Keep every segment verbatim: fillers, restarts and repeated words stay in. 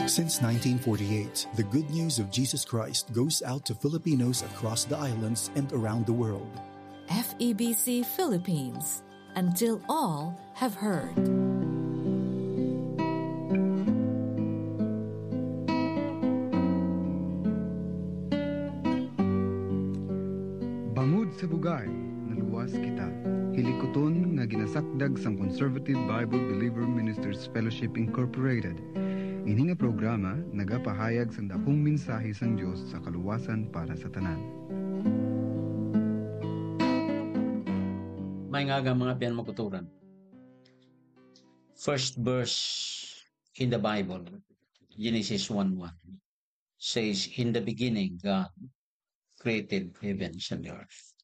Since nineteen forty-eight, the good news of Jesus Christ goes out to Filipinos across the islands and around the world. F E B C Philippines, until all have heard. Bangod sa bugay, naluwas kita. Hilikuton nga ginasakdag sang Conservative Bible Believer Ministers Fellowship Incorporated. Ini nga programa nagapahayag sang dakong mensahe sang Dios sa kaluwasan para sa tanan. May nga mga biyan makuturan. First verse in the Bible, Genesis one one, says, "In the beginning, God created heavens and the earth."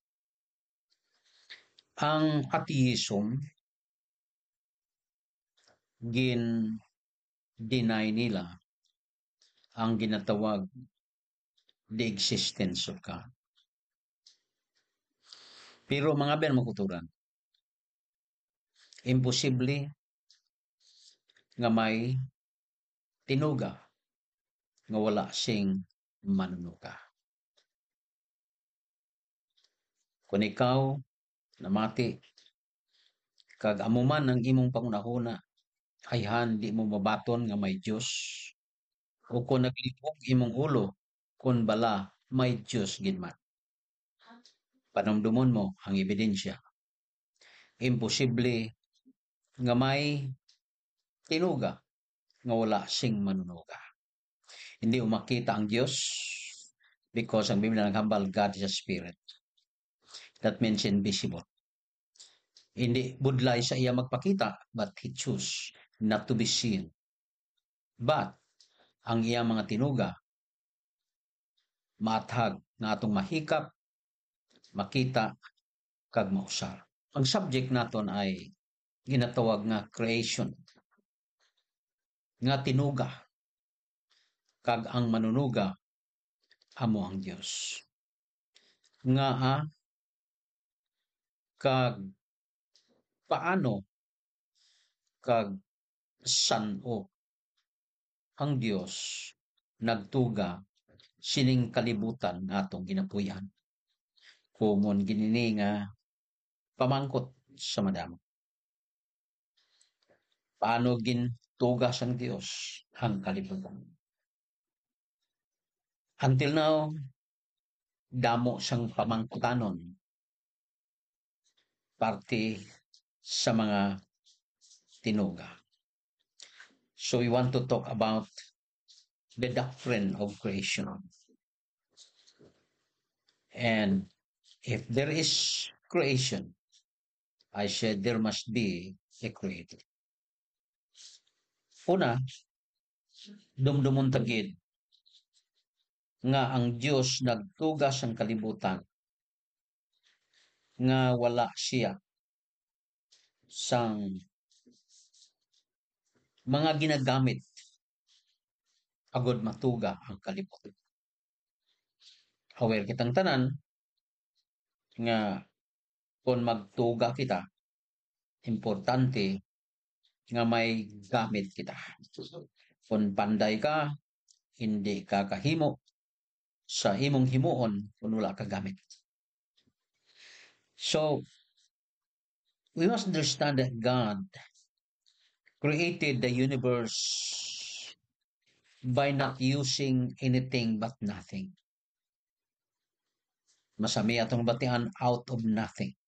Ang atheism, gin-deny nila ang ginatawag the existence of God. Pero mga ben makuturan, imposible nga may tinuga nga wala sing manunuga. Kung ikaw namati, kag amo man ang imong panghunahuna, ayhan di mo mabaton nga may Dios, o kung naglibog imong ulo, kung bala may Dios gid man. Panumdumon mo ang ebidensya. Imposible nga may tinuga nga wala sing manunuga. Hindi mo makita ang Dios because ang Biblia naghambal, "God is a spirit." That means invisible. Hindi budlay sa iya magpakita, but he choose not to be seen. But ang iya mga tinuga maathag nga atong mahikap, makita, kag mausar. Ang subject naton ay ginatawag nga creation, nga tinuga, kag ang manunuga amo ang Dios. Ngaa, kag paano, kag san-o ang Dios nagtuga sining kalibutan nga atong ginapuy-an? Komon gid ini nga pamangkot sa madamo. Paano gintuga sang Dios ang kalibutan? Until now, damo sang pamangkutanon parte sa mga tinuga. So we want to talk about the doctrine of creation. And if there is creation, I said there must be a creator. Una, dumdumon ta gid nga ang Dios nagtuga sang kalibutan, nga wala siya sang mga ginagamit agud matuga ang kalibutan. Aware kitang tanan nga kon magtuga kita, importante nga may gamit kita. Kon panday ka, hindi ka kahimo sa imong himuon kon wala ka gamit. So, we must understand that God created the universe by not using anything but nothing. Masami atong batian, out of nothing.